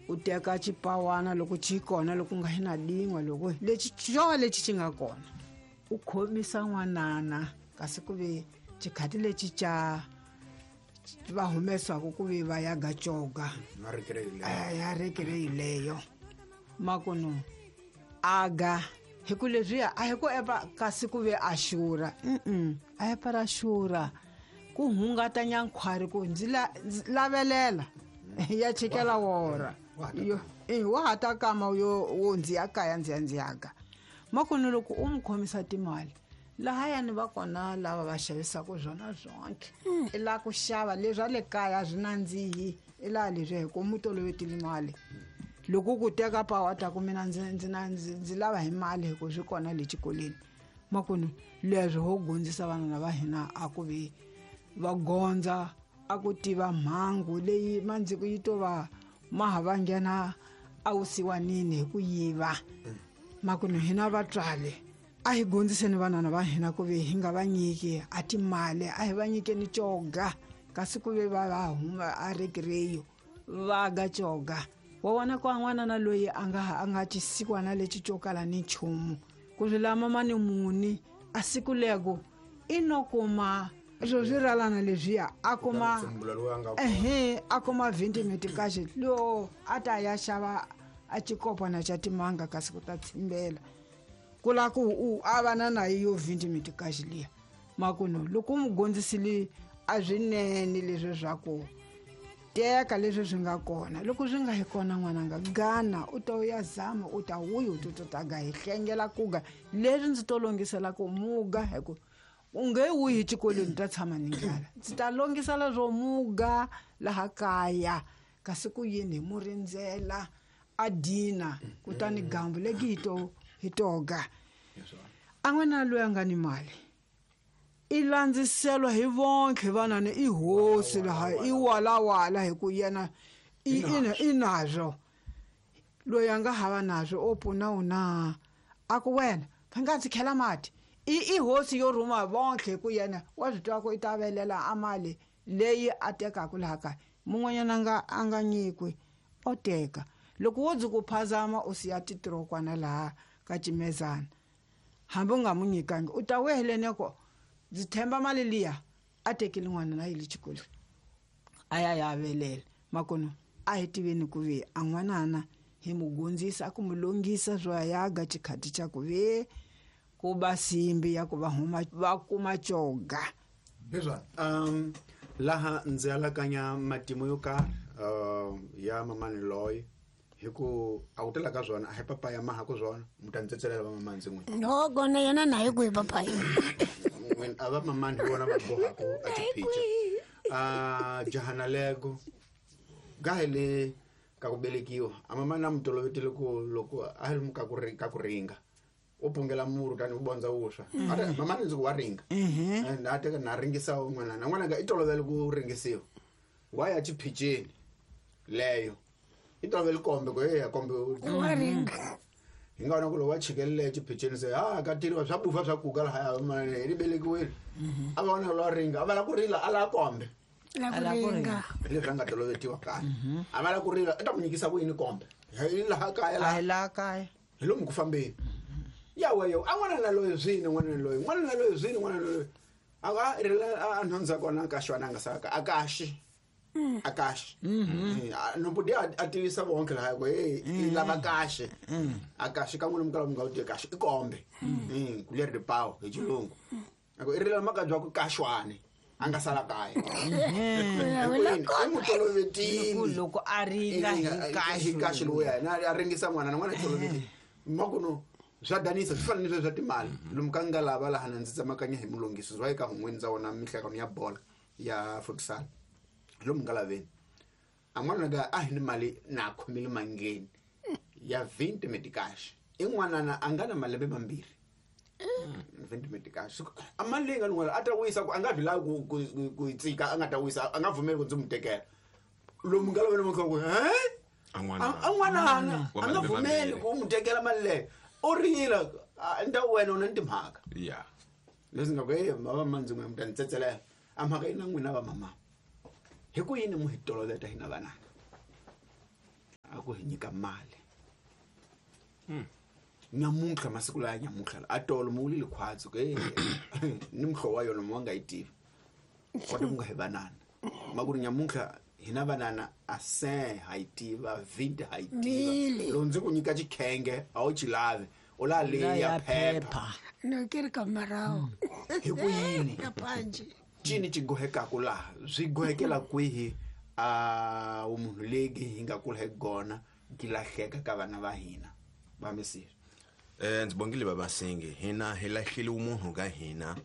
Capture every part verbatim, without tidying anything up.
U teka xipawana loko xi kona loko nga hi na din'we loko lexi xo lexi xi nga kona u khomisa n'wanana kasi ku ve xikhati lexi xa va humesaka ku ve va ya ga coga ya rekere leyo makuno aga hi ku leswiya a hi ku epa kasi ku ve a xura mm a epa ra xura ku hungata nyankhwari ku ndzi lavelela ya chikela wora yo eh wa ha ta kama yo wo ndzi ya kaya ndzi ya ndzi yaga makuno loko u mu khomisa timali lahayani va kona lava va xavisaka swona swonke i la ku xava leswi a le kaya swi nandzihi i laha leswi hi ku mu tolovetile mali loko ku teka pawa ta ku mina ndzi ndzi ndzi lava hi mali hi ku swi kona le xikolweni makuno leswi ho gondzisa vanana va hina a ku vi va gondza a ku tiva mhangu leyi mandziku yi to va ma ha va nghena a wusiwanini hi ku yiva makuno hina vatswali a hi gondziseni vanana va hina ku ve hi nga va nyiki a timali a hi va nyikeni coga kasi ku ve va va huma a rekireyo va ga coga wa vona ku n'wanana loyi a nga a nga xisikwana lexi xo kala ni nchumu ku swi lama mani muni a siku lego i no kuma swo swi ralana leswiya a kuma ehe a kuma twenty metikaxi lo a ta ya xava a xikopana xa timanga kasi ku ta tsimbela ku la ku u a va na nayo yo twenty metikaxi liya makuno loko u mu gondzisile a swinene leswi swa ku teka leswi swi nga kona loko swi nga hi kona n'wananga gana u ta ya zama u ta wuya u to ta ga hi hlengela kuga leswi ndzi to longisela ku muga hi ku u nge wuyi xikolweni ta tshama ni ndlala ndzi ta longisela swo muga laha kaya kasi ku yini hi mu rindzela a dina kutani gambu legi hi to hi toga a n'wana loyi a nga ni mali i landziselwa hi vonke vanana i hosi laha i walawala hi ku yena i i nazwo loyi a nga hava nazwo o pfuna u na a ku wena va nga ndzi khela mati i i hosi yo rhuma vonke hi ku yena wa swi twa ku i ta velela a mali leyi a tekaka laha kaya mun'wanyana a nga a nga nyikwi o teka loko wo ndzi ku phazama u siya titirokwana laha ka cimezana hambi u nga mu nyikangi u ta weheleni ko ndzi themba mali liya a tekile n'wana na yile xikolweni a ya ya velela makuno a hi tiveni ku ve a n'wanana hi mu gondzisa a ku mu longisa swo ya ga xikhati xa ku ve ku ba simbi ya ku va huma va kuma coga leswa um laha ndzi alakanya matimu yo karhi uh, ya mamani loyi hi ku a ku tela ka swona a hi papaya maha ku swona mu ta ndzi tsetselela va mamani ndzi n'wina no kona yena na hi ku hi papaya n'wina a va mamani hi vona va bohaka a tiphicha a jahana lego ga hi le ka ku velekiwa a mamani a mu tolovetile ku loko a hi ka ku ka ku ringa u pungela muru tani u bondza wuswa a mamani ndzi ku wa ringa na teka na ringisa n'wana na n'wana nga i tolovele ku ringisiwa wa ya xiphicheni leyo i tolovele kombe ku eya kombe wa ringa hi nga vona ku loko wa chikelele xiphicheni se ha ka tiriwa swa bufa swa kuka lahaya mani hi ri velekiwile a va vona lowa ringa a va la ku rila a la kombe la ku ringa hi leswi a nga tolovetiwa kaya a va la ku rila i ta ku nyikisa ku yini kombe hi laha kaya laha laha kaya hi lomu ku fambeni ya weyo a n'wana na loyi swini n'wana na loyi n'wana na loyi swini n'wana na loyi a va rila a nhundza kona ka xwana a nga saka a kaxi a kaxi no budi a tivisa vonke laha ku hey i lava kaxe a kaxi ka n'wina mi kala mi nga wu tivi kaxi i kombe ku leri ripawu hi xilungu a ku i rila maka bya ku kaxwani a nga sala kaya i mu tolovetile loko a ringa hi kaxi hi kaxi lowuya na a ringisa n'wana na n'wana tolovetile makuno swa danisa swi fana ni leswi swa timali lomu ka nga lava laha na ndzi tsemakanya hi mulungisi swa eka hun'weni ndza wona mihlekano ya bola ya futsal lomu nga laveni a n'wana ga a hi ni mali na khomile mangeni ya twenty metikash i n'wanana a nga na malembe mambirhi twenty metikash a mali leyi nga n'wana a ta wisa ku a nga vi lavi ku ku ku tsika a nga ta wisa a nga pfumeli ku ndzi mu tekela lomu nga laveni ku he a n'wana a n'wanana a nga pfumeli ku mu tekela mali leyo u rila nda wena u na timhaka ya leswi nga ku e va mandzi n'we mi ta ni tsetselela a mhaka yi na n'wina va mama hi ku yini mu hi toloveta hina vanana a ku hi nyika mali. Nyamuntlha masiku laya nyamuntlha a tolo mu wulile khwatsi ku eh ni muhlovo wa yona mu nga yi tivi kota ku nga hi vanana ma ku ri nyamuntlha hina vanana a se ha yi tiva vinti ha yi tiva loko ndzi ku nyika xikhenge a wu xi lavi u la leya phepha no ke ri ka marawu hi ku yini ka panji cini xi gohekaku laha swi gohekela kwihi a munhu legi hi nga kula hi gona gi lahleka ka vana va hina va misiri. Eh ndzi bongile babasingi hina hi lahlile umunhu ka hina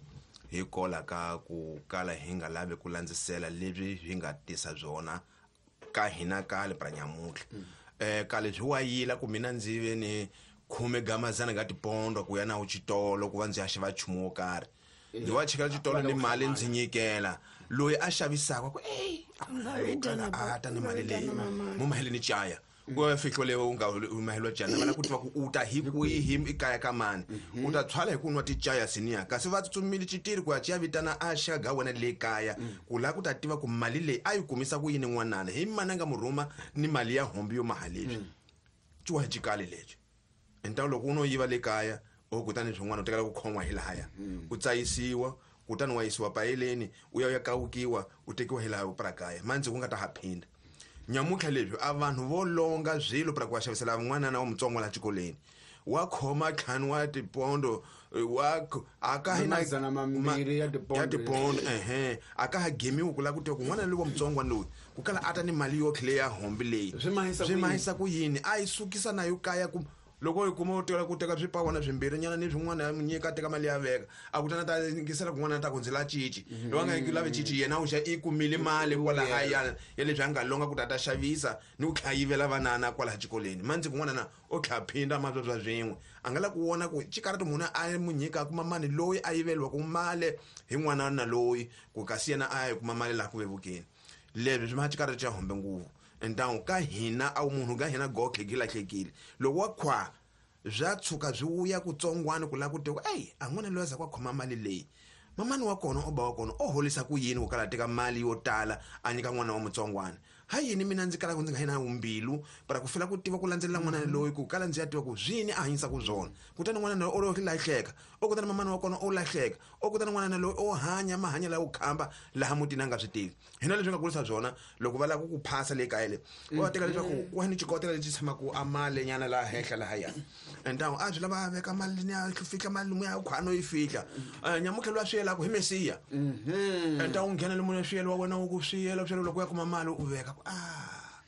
hi kola ka ku kala hi nga lavi ku landzisela leswi hi nga tisa byona ka hina kale pra nyamuntlha. Eh kale byi wayila ku mina ndzi ve ni khume gamazana nga tipondo ku ya na xitolo ku va ndzi ya xava nchumu wo karhi ndzi wa chikela xitolo ni mali ndzi nyikela loyi a xavisaka ku ey a ta ni mali leyi mo mahele ni chaya ku ya fihlo leyo u nga mahelo jana vana ku tiva ku u ta hi kwihi ekaya ka mani u ta tshwala hi ku nwa tichaya siniya kasi va tsutsumile xitiri ku ya chiya vitana a xaga wena le kaya ku la ku ta tiva ku mali leyi a yi kumisa ku yini n'wanana hi mani a nga mu rhuma ni mali ya hombi yo mahaleswi ciwa xikale lexi enta loko u no yiva le kaya o kutani swin'wana u tekela ku khon'wa hi lahaya u tsayisiwa kutani wa yisiwa payeleni u ya u ya kawukiwa u tekiwa hi laha u prakaya mandzi ku nga ta ha phinda. Nyamuntlha leswi a vanhu vo longa swilo pra ku va xavisela n'wanana wa mutsongo la xikolweni wa khoma ntlhanu wa tipondo wa a ka hi na mambirhi ya tipondo ya tipondo ehe a ka ha gemiwi ku lava ku tiva ku n'wana loyi wa mutsongwana loyi ku kala a ta ni mali yo tlhela ya hombi leyi swi mahisa ku yini a yi sukisa na yo kaya ku loko yi kuma u tela ku teka swipawana swimbirhi nyana ni swin'wana ya nyika teka mali ya veka a ku tana ta yingisela kun'wana ta ku ndzi la cici loyi a nga lavi cici yena u xa i kumile mali kwalahaya ya leswi a nga longa ku ta ta xavisa ni ku tlhela yivela vanana kwalaha xikolweni mandzi kun'wana na o tlhela phinda mavabya swin'we a nga la ku vona ku xikarati munhu a mu nyika a kuma mali loyi a yiveliwaka mali hi n'wana na loyi ku kasi yena a ya yi kuma mali laha ku vevukeni leswi swi ma xikarati xa hombe nguvu. Ntawu ka hina a munhu ka hina gokhe gi lahlekile loko wa khwa bya tshuka byi wuya kutsongwana ku lava ku tiva ey a n'wana loyi a za ku khoma mali leyi mamani wa kona o ba wa kona o holisa ku yini ku kala teka mali yo tala a nyika n'wana wa mutsongwana ha yini mina ndzi kalaka ndzi nga yina mbilu para ku fela ku tiva ku landzelela n'wana loyi ku kala ndzi ya tiva ku zwini a hanyisa ku zwona kutani n'wana loyi o lo lahleka o kutani mamani wa kona o lahleka o kutani n'wana loyi o hanya mahanya lawa ku khamba laha mutini a nga swi tivi hina leswi nga kulisa byona loko va lava ku phasa le kaya le va teka leswaku wa ni xikotela lexi tshamaka a mali nyana laha henhla laha ya entawu a swi lava veka mali ni ya fihla mali lomu ya khwano yi fihla nyamutlha loyi a swi yelaka hi mesiya entawu nghena le munhu swiyelo wa wena wu ku swiyela swiyelo loko ya kuma mali u veka ah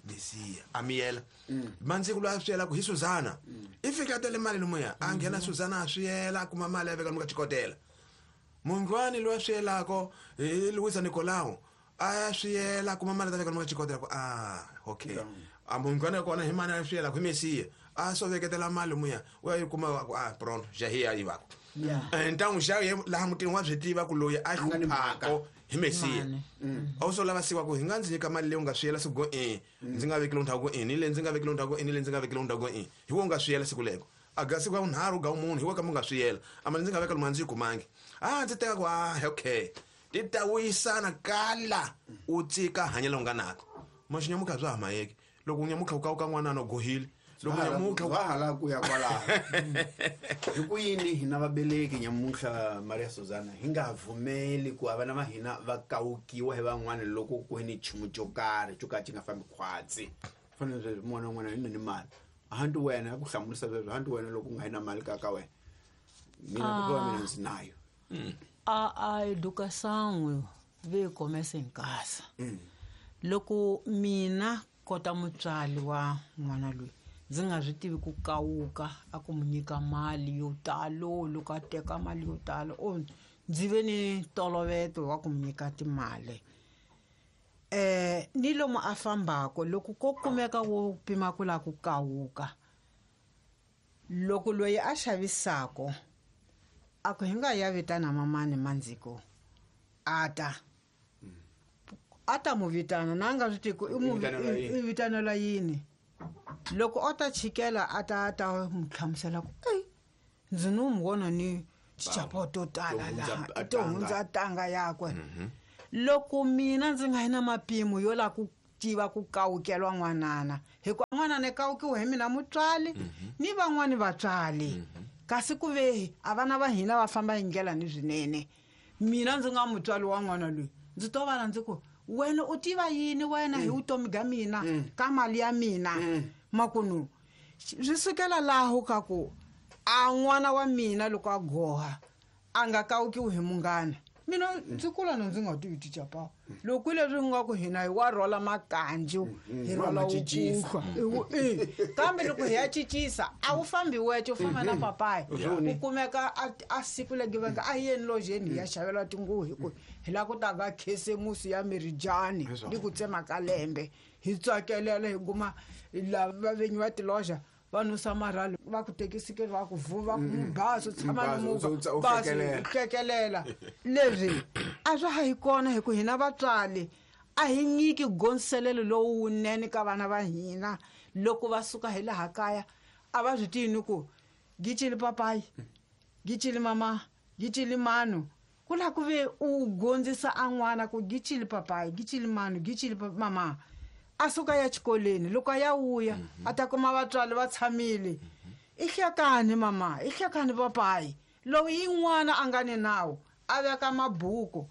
mesiya a miyela mandziku loyi a swi yelaka hi Suzana i fika tele mali lomuya a nghena Suzana a swi yela a kuma mali a veka lomu ka xikotela mungwani loyi a swi yelako hi Luisa Nicolau a ya swi yela a kuma mali ta veka lomu ka xikotela ku ah okay a mungwani kona hi mani a swi yelaka hi mesiya a so veketela mali lomuya u ya yi kuma ku ah pronto jahiya yi vako ntangu xa laha mutini wa swi tiva ku loyi a hluphako hi mesiya a wu so lava siwa ku hi nga ndzi nyika mali leyi u nga swi yela siku go e ndzi nga veki lowu ku e ni le ndzi nga veki lowu ku e ni le ndzi nga veki lowu ku e hi wo nga swi yela siku leko a ga siku ya vunharhu ga munhu hi wo ka mu nga swi yela a mali ndzi nga veka lomu a ndzi yi kumangi a ndzi teka ku ah okay ti ta wuyisana kala u tsika hanyela u nga nako maxinyamuka bya ha mayeki loko nyamuka u ka u ka n'wana no gohile loko nyamuka wa hala ku ya kwalaho hi ku yini hina vabeleki nyamutlha Maria Suzana hi nga vumeli ku vana va hina va kawukiwa hi van'wana loko ku ni nchumu xo karhi xo ka xi nga fambi khwatsi fanele sweswi n'wana un'wana i ni mali hanti wena ku hlamurisa sweswo hanti wena loko u nga yi na mali ka ka wena mina ku va mina ndzi nayo a a educação veio começa em casa loko mina kota mutswari wa n'wana loyi ndzi nga swi tivi ku kawuka a ku mu nyika mali yo talo loko a teka mali yo talo o ndzi ve ni ntolovelo wa ku mu nyika timali eh ni lomu a fambako loko ko kumeka wo pima ku lava ku kawuka loko loyi a xavisako a ku hi nga ya vitana mamani mandziko a ta a ta mu vitana na nga swi tivi ku i mu i vitanela yini loko o ta chikela a ta ta mu hlamusela ku ey ndzi no mu vona ni tichapo to tala laha to hundza tanga yakwe loko mina ndzi nga yi na mapimo yo lava ku tiva ku kawukelwa n'wanana hikuva n'wanana kawukiwa hi mina mutswali ni van'wani vatswali kasi ku ve a vana va hina va famba hi ndlela ni swinene mina ndzi nga mutswali wa n'wana loyi ndzi to vana ndzi ku wena u tiva yini wena hi vutomi bya mina ka mali ya mina makunu swi sukela laho ka ku a n'wana wa mina loko a goha a nga kawukiwi hi munghana mina ndzi kula na ndzi nga tivi ticapa loko leswi nga ku hina hi wa rhola makanju hi rhola wukuhlwa kambe loko hi ya cincisa a wu fambi wece u famba na papayi u kumeka a siku legiveka a yeni lojeni hi ya xavela tinguvu hi ku hi lava ku ta va khisimusi ya mirijani ni ku tsema ka lembe hi tsakelela hi kuma lava vinyi va tiloja va nusa marhali va ku tekisikeli va ku vuva bazi u tshama ni movha bazi u hlekelela leswi a swa ha yi kona hi ku hina vatswali a hi nyiki gonselelo lowunene ka vana va hina loko va suka hi laha kaya a va swi tivi ni ku gicili papayi gicili mama gicili manu ku la ku ve u gondzisa a n'wana ku gicili papayi gicili manu gicili mama a suka ya xikolweni loko a ya vuya a ta kuma vatswari va tshamile i hlekani mama i hlekani papayi lowu yin'wana a nga ni nawu a veka mabuku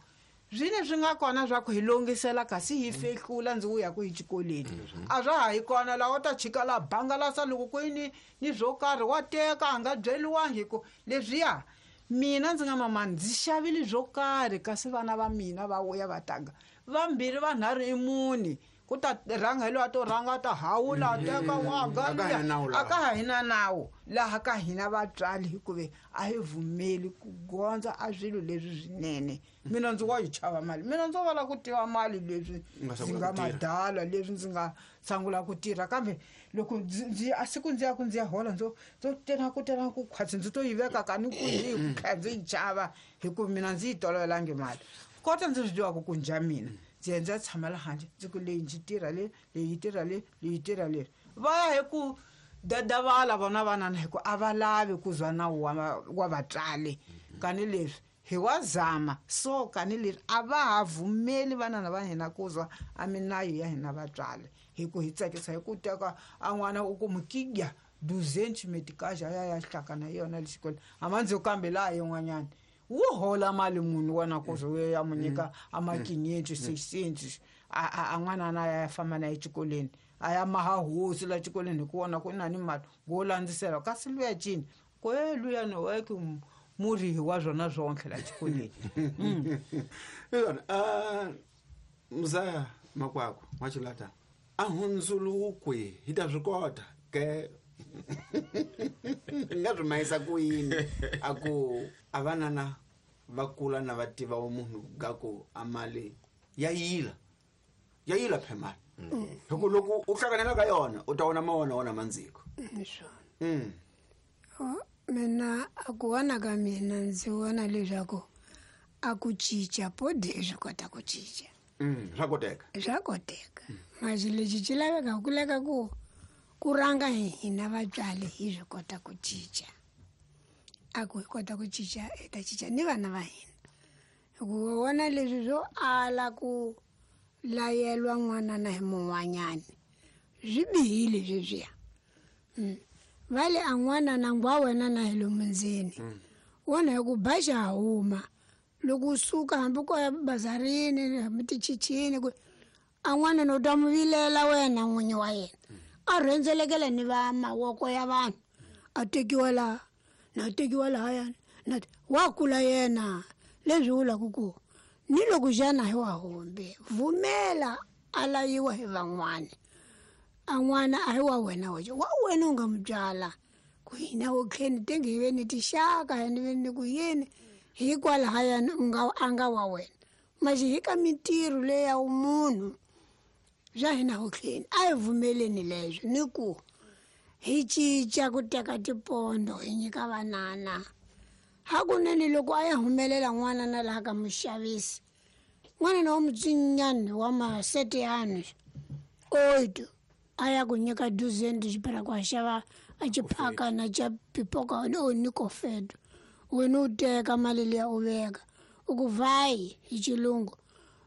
zwine swi nga kona swa ku hi longisela kasi hi fehlula ndzi vuya ku hi xikolweni a swa ha yi kona laha u ta chika la bangalasa loko ku ni ni swo karhi wa teka a nga byeliwangi hi ku leswiya mina ndzi nga mama ndzi xavile swo karhi kasi vana va mina va vuya va tanga vambirhi vanharhu i mune ku ta rhanga hi loyi a to rhanga a ta hawula a teka wa galuya a ka ha hina nawu laha ka hina vatswali hikuve a hi vumeli ku gondza a swilo leswi swinene mina ndzi wa yi chava mali mina ndzo vala ku tiva mali leswi ndzi nga madala leswi ndzi nga sungula ku tirha kambe loko ndzi a siku ndzi ya ku ndzi ya hola ndzo ndzo tena ku tena ku khwatsi ndzi to yi veka ka ni ku yi ku kha ndzi yi chava hikuva mina ndzi yi tolovelangi mali kota ndzi swi tivaka ku njha mina ndzi ya ndzi ya tshama la handle ndzi ku leyi ndzi tirha le leyi tirha le leyi tirha leri va ya hi ku dadavala vona vanana hi ku a va lavi ku zwa nawu wa wa vatswali kani leswi hi wa zama so kani leswi a va ha vumeli vanana va hina ku zwa a minayo ya hina vatswali hi ku hi tsakisa hi ku teka a n'wana u ku mukigya duzenchi metikaja ya ya hlakana yona le xikolweni a kambe laha yin'wanyana wu hola mali munhu wena ku ze ya mu nyika a makinyenti six a a n'wana na ya famba na exikolweni a ya maha hosi la xikolweni hi ku vona ku na ni mali wo landzisela kasi luya cini ku e luya ni weke murihi wa swona swontlhe la xikolweni yona a muzaya makwakwa wa xilata a hundzulukwe hi ta swi kota ke nga swi mahisa ku yini a ku a vanana va kula na va tiva wa munhu ga ku a mali ya yila ya yila phe mali hi ku loko u hlanganela ka yona u ta vona mawona wona mandziko mm mina a ku vona ka mina ndzi vona leswaku a ku cinca podi swi kota ku cinca swa koteka swa koteka masi lexi xi laveka ku leka ku ku rhanga hina vatswari hi swi kota ku cinca a ku hi kota ku cinca hi ta cinca ni vana va hina hikuva vona leswi swo ala ku layelwa n'wana na hi mun'wanyani swi bihile sweswiya va le a n'wana na ngwa wena na hi lomu ndzeni wona hi ku ba xa huma loko u suka hambi ko ya bazarini hambi tichichini ku a n'wana no ta mu vilela wena n'winyi wa yena a rhendzelekela ni va mavoko ya vanhu a tekiwa laha na tekiwa lahayani na wa kula yena leswi vulaka ku ni loko xana hi wa hombe vumela a layiwa hi van'wana a n'wana a hi wa wena wexe wa wena u nga mu byala ku hina wo tlheni tenge hi ve ni tixaka ni ve ni ku yini hikwalahayani u nga a nga wa wena maxi hi ka mintirho leya munhu swa hina ho tlheni a hi vumeleni leswo ni ku hi cinca ku teka tipondo hi nyika vanana hakunene loko a ya humelela n'wana na laha ka muxavisi n'wana na wa mutsinyani wa masete yanu oito a ya ku nyika duzenti xipira ku a xava a xiphakana xa pipoka o ni kofeto wena u teka mali liya u veka u ku vayi hi xilungu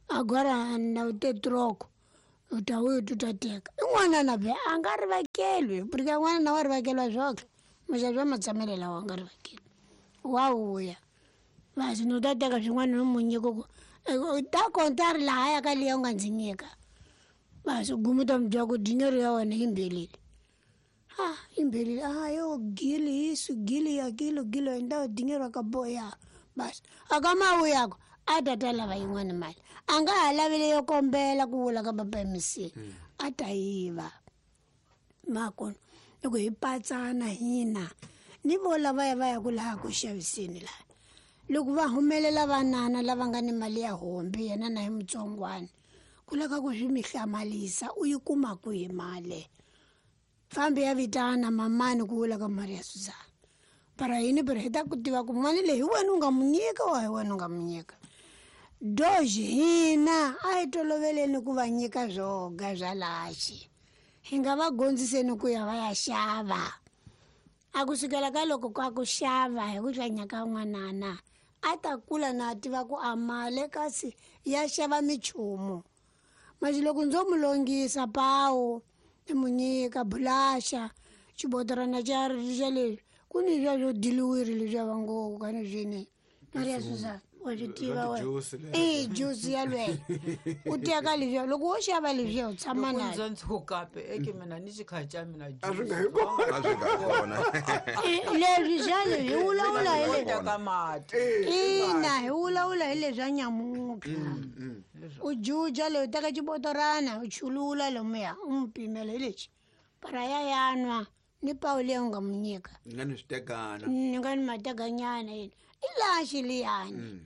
agora na u te troko U ta wuya tu ta teka. I n'wanana be a nga rivakelwi, porque n'wanana wa rivakelwa swoke. Muxavi wa matshamelo lawa a nga rivakelwi. Wa vuya. Basi no ta teka swin'wana no mu nyika ku u ta konta ri lahaya ka liya u nga ndzi nyika. Basi u guma u ta mi byela ku dinero ya wena yi mbelile. Ah, imbelile. Ah, yo gili isu gili ya kilo gilo enda dinero akaboya. Basi akamawu yako a ta ta lava yin'wana mali. A nga ha lavile yo kombela ku vula ka papa M C. A ta yiva. Makona loko hi patsana hina ni vo lava ya va ya ku laha ku xaviseni laha. Loko va humelela vanana lava nga ni mali ya hombi yena na hi mutsongwana. Ku lava ku swi mi hlamalisa u yi kuma kwihi mali. Fambi ya vitana mamani ku vula ka Maria Suzana. Para yini para hi ta ku tiva ku mali leyi hi wena u nga mu nyika wa hi wena u nga mu nyika. Doge hina a hi toloveleni ku va nyika swoga swa laxi. Hi nga va gondziseni ku ya va ya xava. A ku sukela ka loko ka ku xava hi ku hlanya ka n'wanana a ta kula na tiva ku a mali kasi ya xava michumu. Manje loko ndzo mu longisa pawu ni mu nyika bulaxa xibotorana xa xa leswi ku ni swa swo diliwiri leswiya va ngo ka ni swini. Maria Suzana wa swi tiva wena. I juice yalweyo. U teka leswiya loko wo xava leswiya u tshama Loko na ndzo ntshuka pe eke mina ni xikhaca mina A swi nga hi kona. A swi nga hi kona. Leswi xa leswi hi vulavula hi leswi. Teka mati. Ina hi vulavula hi leswi nyamutlha. U juja leyi u teka xibotorana u chulula lomuya u n'wi pimela hi lexi. Para ya yanwa ni pawu leyi u nga mu nyika. Ni nga ni switekana. Ni nga ni matekanyana yini. I laxi liyani.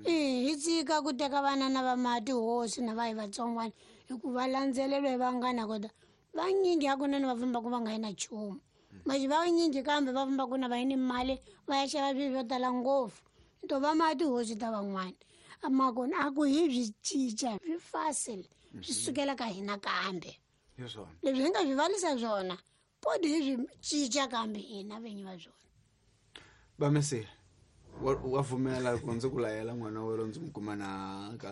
I hi tshika ku teka vanana va mati hosi na va hi vatsongwana hikuva landzelelo hi vanghana kota. Vanyingi hakunene va fambaka va nga yi na nchumu. Manje vanyingi kambe va fambaka na va yi ni mali va ya xava swilo swo tala ngopfu. To va mati hosi ta van'wana. Makona a ku hi byi cinca swi facile swi sukela ka hina kambe. Hi swona. Leswi hi nga swi valisa swona podi hi swi cinca kambe hina vinyi va swona. Bamesile wa wa pfumela ku ndzi ku layela n'wana wa wena ndzi n'wi kuma na ka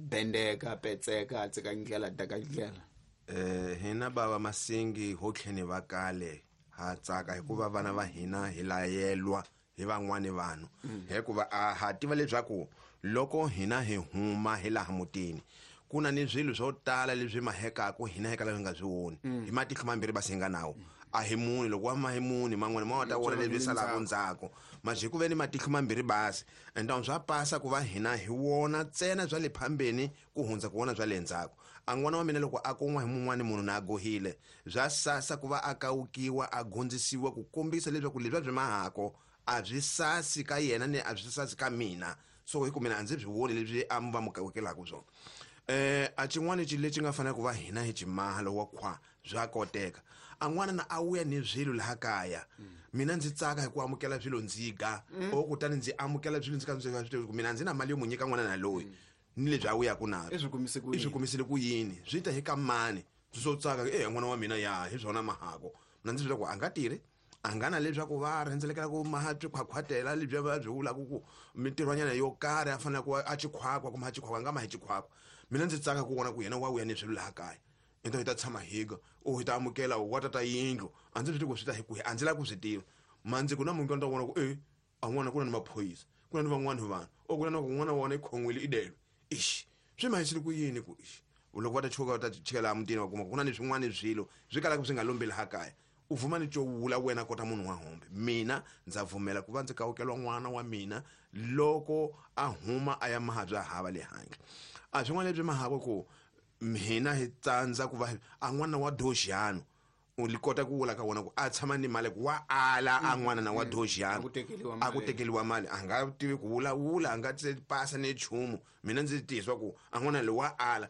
bendeka petseka a tseka ndlela daka ndlela. Eh hina bava Masingi ho tlheni va kale ha tsaka hikuva vana va hina hi layelwa hi van'wani vanhu. Hikuva a ha tiva leswaku loko hina hi huma hi laha mutini ku na ni swilo swo tala leswi mahekaka hina hi kala hi nga swi voni. Hi matihlo mambirhi va singa nawo. A hi muni loko wa ma hi muni man'wana ma ta vona leswi salaka ndzhaku. Manje ku ve ni matihlo mambirhi basi ende swa pasa ku va hina hi wona ntsena bya le phambeni ku hundza ku vona bya le ndzhaku. A n'wana wa mina loko a kun'wa hi mun'wani munhu na a gohile bya sasa ku va a kawukiwa a gondzisiwa ku kombisa leswaku leswi byi mahako a byi sasi ka yena ni a byi sasi ka mina. So hi ku mina a ndzi byi voni leswi a va mu kawukelaka swona. Eh a xin'wana lexi lexi nga fanele ku va hina hi ximaha wa khwa bya koteka. A n'wana na a wuya ni swilo laha kaya. Mina ndzi tsaka hi ku amukela swilo ndzi ga o kutani ndzi amukela swilo ndzi ka ndzi swi ku mina ndzi na mali yo mu nyika n'wana na loyi ni lebyi a wuyaka na I swi kumise ku yini? I swi kumisile ku yini? Swi ta hi ka mani? Ndzi swo tsaka eh n'wana wa mina ya hi swona mahako. Mina ndzi swi ku a nga tirhi a nga na leswaku va rhendzelekela ku maha swikhwakhwatela lebyi va byi vulaka ku mintirhwanyana yo karhi a fanele ku a xikhwakhwa kumbe a xikhwakhwa a nga ma hi xikhwakhwa. Mina ndzi tsaka ku vona ku yena wa wuya ni swilo laha kaya. Ende hi ta tshama higa o hi ta amukela wa tata yindlu a ndzi swi tivi ku swi ta hi kwihi a ndzi lavi ku swi tiva. Mandzi ku na munhu ta vona ku e a n'wana ku na ni maphorisa ku na ni van'wana vanhu o ku na ku n'wana wa wona i khon'wile i delwe. Ixi swi mahisile ku yini ku ixi loko va ta chuka va ta chikela emutini va kuma ku na ni swin'wana swilo swi kalaka swi nga lombi laha kaya. U vuma ni cowula wena kota munhu wa hombe. Mina ndza pfumela ku va ndzi kawukelwa n'wana wa mina loko a huma a ya maha bya hava le handle. A swin'wana leswi mahako ku hina hi tsandza ku va a n'wana wa doxiyano u li kota ku vula ka wona ku a tshama ni mali ku wa ala a n'wana na wa doxiyano a ku tekeliwa mali a nga tivi ku vulavula a nga pasa ni nchumu. Mina ndzi tiyiswa ku a n'wana loyi wa ala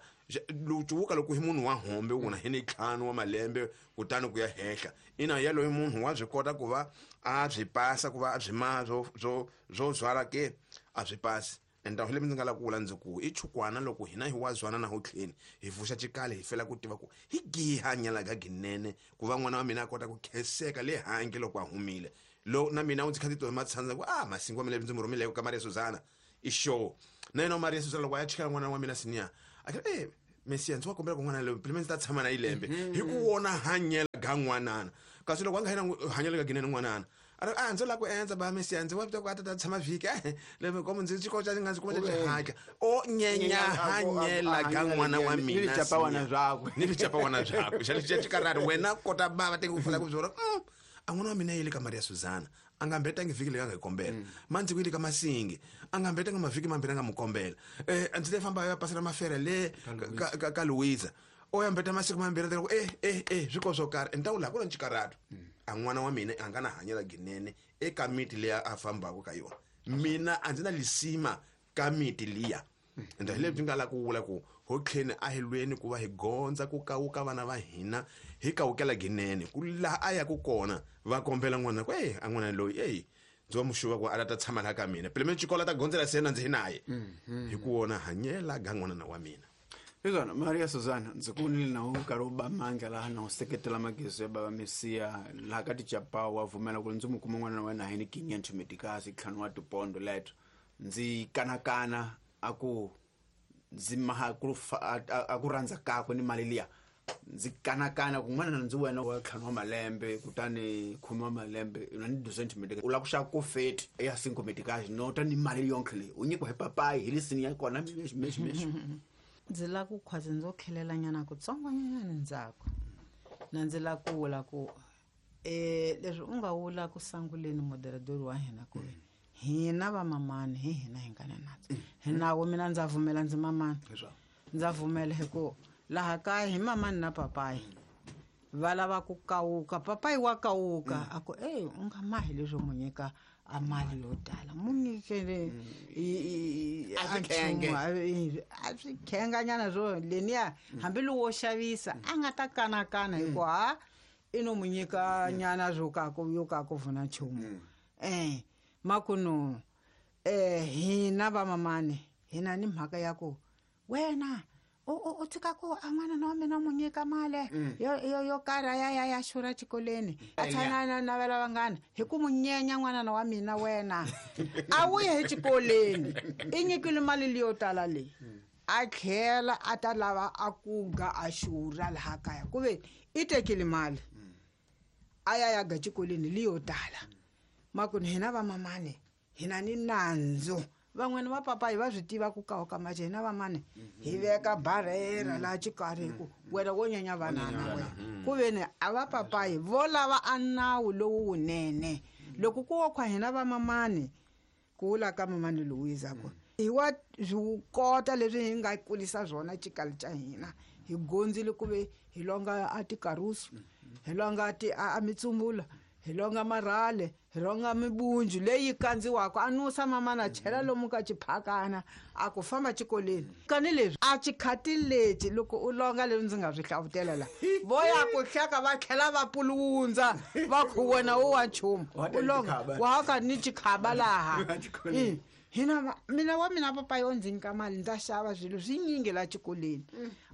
lucuvuka loko hi munhu wa hombe u na hi ni ntlhanu wa malembe kutani ku ya henhla ina yaloye munhu wa swi kota ku va a byi pasa ku va a byi maha swo swo swo zwala ke a swi pasi. Ende le ndzi nga lava ku vula ndzi ku i chukwana loko hina hi wa zwana na ho tlheni hi vuxa xikale hi fela ku tiva ku hi giha nyala ga ginene ku va n'wana wa mina a kota ku khenseka le handle loko a humile. Lo na mina u ndzi kha ndzi twa matshandza ku ah Masingi wa mina ndzi mu rhumile ka Maria Suzana i show. Na yena Maria Suzana loko a ya chikela n'wana wa mina senior a ke eh Mesiya ndzi wa kombela ku n'wana loyi pele ndzi ta tshama na ilembe hi ku wona hanyela ga n'wanana kasi loko a nga yena hanyela ga ginene n'wanana a ri a ndzi lava ku endza ba Mesiya ndzi wa ku a ta ta tshama vhiki eh lembe komo ndzi xikolo xa nga ndzi kuma xi o nyenya hanyela ga n'wana wa mina ni vichapawana byakwe ni vichapawana byakwe xa lexi xikarhari wena kota bava teki ku fana ku byora a n'wana wa mina yile ka Maria Suzana a nga mbetangi vhiki leyi a nga yi kombela mandzi ku yile ka Masingi a nga mbetanga mavhiki mambirhi a nga mu kombela eh ndzi te famba ya pasela mafere le ka ka, ka Louisa o ya mbeta masiku mambirhi ku eh eh eh swiko swo karhi ni ta vula ku ri xikarhatu a n'wana wa mina a nga na hanyela ginene eka miti leyi a fambaka ka yona mina a ndzi na lisima ka miti liya ende hi lebyi nga la ku vula ku ho tlheni a hi lweni ku va hi gondza ku kawuka vana va hina hi kawukela ginene ku laha a yaku kona va kombela n'wana ku e a n'wana loyi eyi ndzi wa muxuva ku a la ta tshama laha ka mina pele xikolo ta gondzela se na ndzi hi naye hi ku wona hanyela ga n'wanana wa mina. Izona Maria Suzana ndzi ku ni na u nkarhi wo ba mandla laha na u seketela magezo ya baba Mesiya laha ka tichapawu wa pfumela ku ndzi mu kuma n'wana wa wena hi ni quinhentos meticais ntlhanu wa tipondo leto ndzi kanakana a ku ndzi maha ku a ku rhandza kakwe ni mali liya ndzi kanakana ku n'wana ndzi wena wa ntlhanu wa malembe kutani khume wa malembe na ni duzentos meticais u lava ku xava ku feti ya cinco meticais no ta ni mali yonkhe leyi u nyikiwa hi papayi hi lisini ya kona mexi mexi mexi. Ndzi lava ku khwazi ndzo khelelanyana kutsongonyana ndzhaku na ndzi lava ku vula ku eh leswi u nga vula ku sanguleni moderador wa hina ku hina vamamani hi hina hi nga na natso hi nawo mina ndza pfumela ndzi mamani ndza pfumela hi ku laha kaya hi mamani na papayi va lava ku kawuka papayi wa kawuka a ku ey u nga mahi leswo mu nyika a mali yo tala mu nyikele a swi khenganyana swo leniya hambi lowo xavisa a nga ta kanakana hi ku ha i no mu nyika nyana swo ka ku yo ka ku vuna nchumu eh makuno eh hina vamamani hina ni mhaka ya ku wena u u tshika ku a n'wana na wa mina mu nyika mali yo yo yo karha ya ya ya xurha xikolweni a tshana na navela vanghana hi ku mu nyenya n'wana wa mina wena a wu ye exikolweni i nyikile mali leyo tala leyi a tlhela a ta lava a ku ga a xurha laha kaya ku ve i tekile mali a ya ya ga xikolweni leyo tala makuni hina vamamani hina ni nandzu van'wana va papayi va swi tiva ku kawuka maje hina vamani hi veka barhera laha xikarhi hi ku wena wo nyenya vanana wena ku veni a va papayi vo lava a nawu lowu wunene loko ku wo khwa hina vamamani ku vula ka mamani Louisa ku hi wa swi kota leswi hi nga kulisa swona xikali xa hina hi gondzile ku ve hi longa a tikarusu hi longa ti a mitsumbula hi longa marhale hi longa mibunju leyi kandziwaka a nusa mamana chela lomu ka xiphakana a ku famba xikolweni kani leswi a xikhati lexi loko u longa leswi ndzi nga swi hlavutela la vo ya ku hleka va tlhela va pulundza va ku wena u wa nchumu u longa wa ka ni xikhaba laha hina mina wa mina papayi o ndzi nyika mali ndza xava swilo swinyingi la xikolweni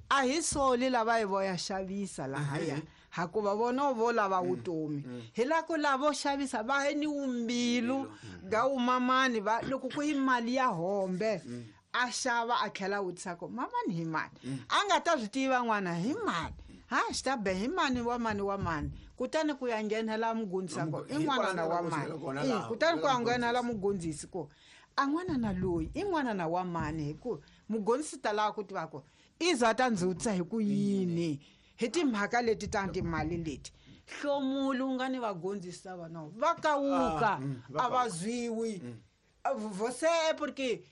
a hi soli lava hi vo ya xavisa lahaya hakuva vona vo lava vutomi hi la ku lavo xavisa va ni wumbilu ga wumamani va loko ku hi mali ya hombe a xava a tlhela vutisa ku mamani hi mani a nga ta swi tiva n'wana hi mani ha xi ta be hi mani wa mani wa mani kutani ku ya nghenela mugondzisi ku i n'wanana wa mani kutani ku ya nghenela mugondzisi ku a n'wanana loyi i n'wanana wa mani hi ku mugondzisi ta lava ku tiva ku i za ta ndzi vutisa hi ku yini hi timhaka leti ta timali leti hlomulu nga ni vagondzisi lava no va kawuka a va zwiwi você é porque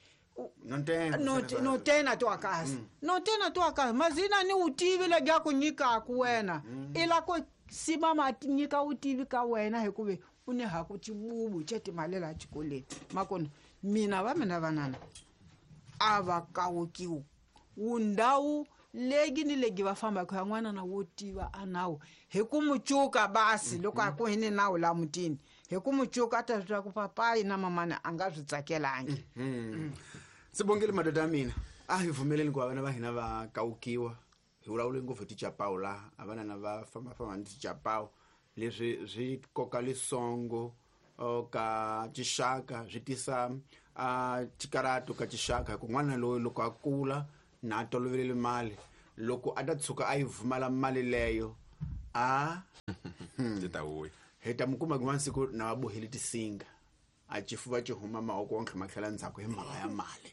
no tem na tua casa não tem na tua casa mas ina ni utivi lebya ku nyikaku wena i la ku simama nyika utivi ka wena hikuva u ni ha ku xibubu xa timali laha xikolweni makona mina va mina vanana a va kawukiwi wundhawu legi ni legi va fambaka ya n'wana na wo tiva a nawu hi ku mucuka basi loko a ku hi ni nawu la mutini hi ku mucuka a ta swi tiva ku papayi na mamani a nga swi tsakelangi. Sibongile madoda ya mina a hi pfumeleni ku va vana va hina va kawukiwa hi vulavule ngopfu hi tichapawu laha a vanana va fambafamba ni tichapawu leswi swi koka lisongo ka tixaka swi tisa a xikarhato ka tixaka hi ku n'wana loyi loko a kula na tolovelele mali Loko a ta tshuka a yi vumala mali leyo a ti ta vuya hi ta mi kuma kun'wana siku na va bohile tisinga a xifuva xi huma mavoko wa ntlhoma tlhela ndzhaku hi mhaka ya mali.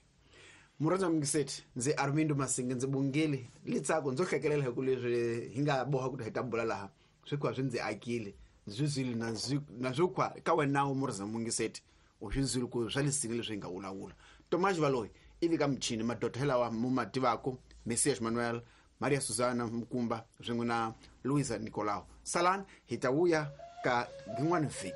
Murhandza Mungiseti, ndzi Armindo Masinga, ndzi bongile litsako ndzo hlekelela hi ku leswi hi nga boha ku hi ta bula laha swi kwa swi ndzi akile ndzi zwile na zwi na swi kwa ka wena wu murhandza Mungiseti u swi zwile ku swa lisini leswi hi nga vulavula. Tomas Valoyi ivi ka muchini madoda lawa mu ma tivaka Messias Manuel, Maria Susana Mukumba swin'we na Luisa Nicolau. Salani hi ta vuya ka rin'wana vhiki.